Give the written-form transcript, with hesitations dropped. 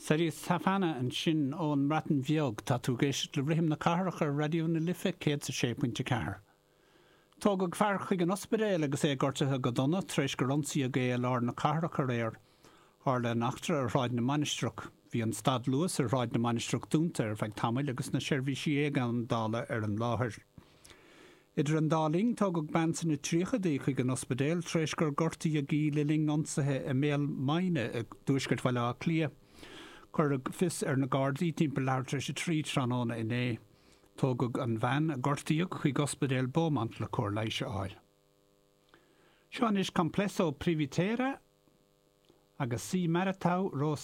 Ceri Safana ansin ón mBreatain Bheag. Tá tú ag éisteacht le Rithim na Cathrach ar Raidió na Life 106.4. Tógadh fear chuig an ospidéal agus é gortaithe go dona tar éis gur ionsaíodh é i lár na cathrach aréir. Tharla an eachtra ar Shráid na Mainistreach. Bhí an stad Luas ar Shráid na Mainistreach dúnta ar feadh tamaill agus na seirbhísí éigeandála ar an láthair. Idir an dá linn, tógadh bean sna tríochaidí chuig an ospidéal tar éis gur gortaíodh í le linn ionsaithe i mBéal Maighne i dtuaisceart Bhaile Átha Cliath. Cuireadh fios ar na Gardaí timpeall leathuair tar éis a 3 tráthnóna inné. Tógadh an bhean a gortaíodh chuig Ospidéal Beaumont le cóir leighis a fháil. Seo anois Complesso Privitera agus Si Maritau Ro.